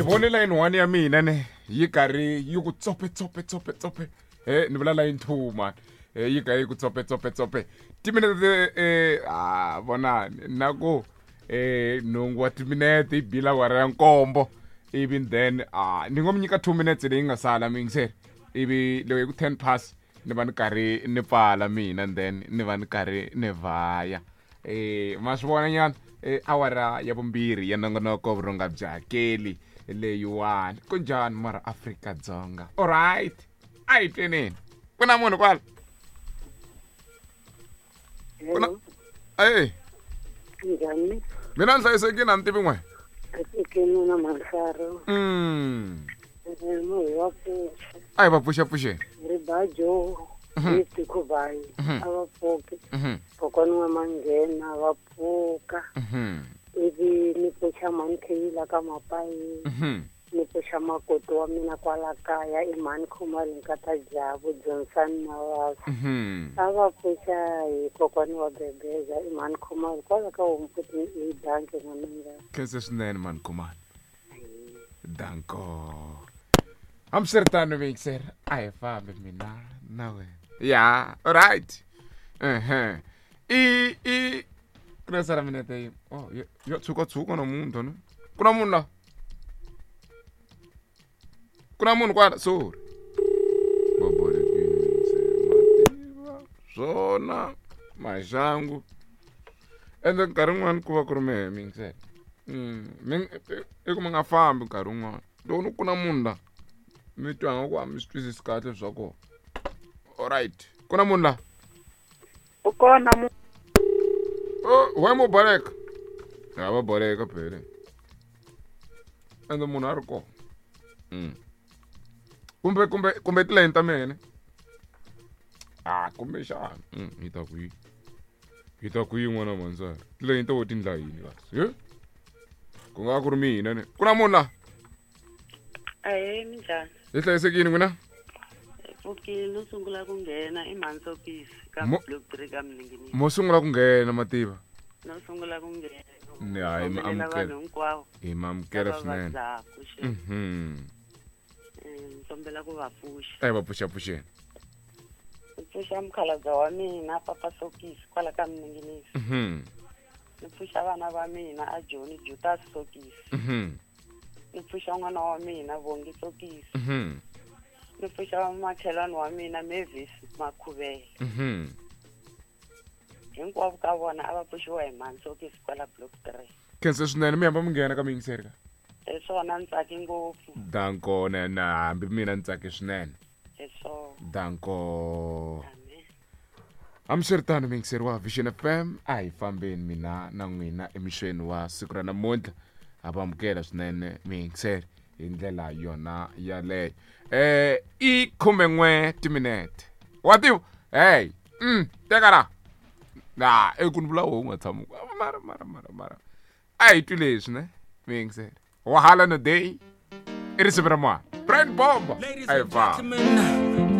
vone line 1 ya mina ne yi karhi yi ku tsope tsope tsope tsope eh ni vula line 2 man eh yi karhi yi ku tsope tsope tsope timinete eh ah vonani na ku eh nhungu wa timinete yi bila awara ya nkombo ivi then ah ni ngo mi nyika 2 minutes leyi nga sala miyingiseri ivi loko yi ku 10 pass ni va ni karhi ni pfala mina and then ni va ni karhi ni vhaya eh ma swi vona nyana eh, awara ya vumbirhi ya nongonoko vurhonga bya hakeli leyiwani ku njhani mara Afrika Dzonga alright a hi tweneni ku na munhu kwala ku na ey Njhani? Mina ni hlayisekile a ni tivi n'we. Hlayisekile na Mansaro. Munhu wa pfuxa. A hi va pfuxapfuxeni. Ribajo Gift Khubayi a va pfuke. Kokwani wa Manghena va pfuka. Ivi ni pfuxa mhani Kheyila ka Mapayi. Ni pfuxa makoti wa mina kwala kaya i mhani Khumalo nkata Jabu Johnson Mawasa. A va pfuxa hi kokwani wa Bebeza i mhani Khumalo kwala ka Homfuti i danke n'wananga. Khense swinene mhani Khumalo. Danko. Hambiswiritano mixer a hi fambi mina na wena. Ya, alright. Ehe. I i ku na sala minete yin'we. Oh, yo, yo tshuka tshuka namuntlha ne. Ku na munhu la. Ku na munhu kwala sorry. Bobolekini se mativa swona maxangu. Ende nkarhi wun'wani ku va ku ri mehe miyingisela. Mi i ku mi nga fambi nkarhi wun'wani. Loko ni ku na munhu la mi twa nga ku a mi swi twisisi kahle swa kona. Alright. Ku na munhu la. U kona mu Oh, why mo baleka? Ya va baleka phela. Ende munhu a ri kona. Kumbe kumbe kumbe tilayini ta mina. Ah, kumbe xana. Hi ta ku yi. Hi ta ku yi n'wana manzara. Tilayini ta wo ti ndla yini kasi? He? Ku nga ku ri mina ne. Ku na munhu la. Ahee, minjhani? Hi hlayisekile n'wina? Hi pfukile no sungula ku nghena i mhani Sokisi ka Mo- block 3 ka Mninginisi. Mo sungula ku nghena mativa. No sungula ku nghena. Ni hayi mi Khombelela amukela. vanhu hinkwavo Hi mi amukela lava swinene. vabyaka xe. Ni kombela ku va pfuxa. A hi va pfuxapfuxeni. Ni pfuxa mukhalabye wa mina Papa Sokisi kwala ka Mninginisi. Ni pfuxa vana va mina a Joni Jutas Sokisi. Ni pfuxa n'wana wa mina Vongi Sokisi. Ni pfuxa makhelwani wa mina Mavis Makhuvele. Hinkwavo ka vona a va pfuxiwa hi mhani Sokisi kwala block 3. Khensa swinene mi hamba mi nghena ka miyingiseri ka. Hi swona ni tsake ngopfu. Danko na na hambi mina ni tsake swinene. Hi swona. Danko. Amen. Hambiswiritano miyingiseri wa Vision FM a hi fambeni mina na n'wina emixweni wa siku ra namuntlha. Ha va amukela swinene miyingiseri hi ndlela yona yaleyo. Eh i 11 timinete. Wa tiva? Hey, teka la. Na, e ku ni vula wo u nga tshami. Mara mara mara mara. A hi twi leswi ne miyingiseri. Wahala no day. I risimu ra mwana. Brian Bomba. Ladies A hi and famba. gentlemen,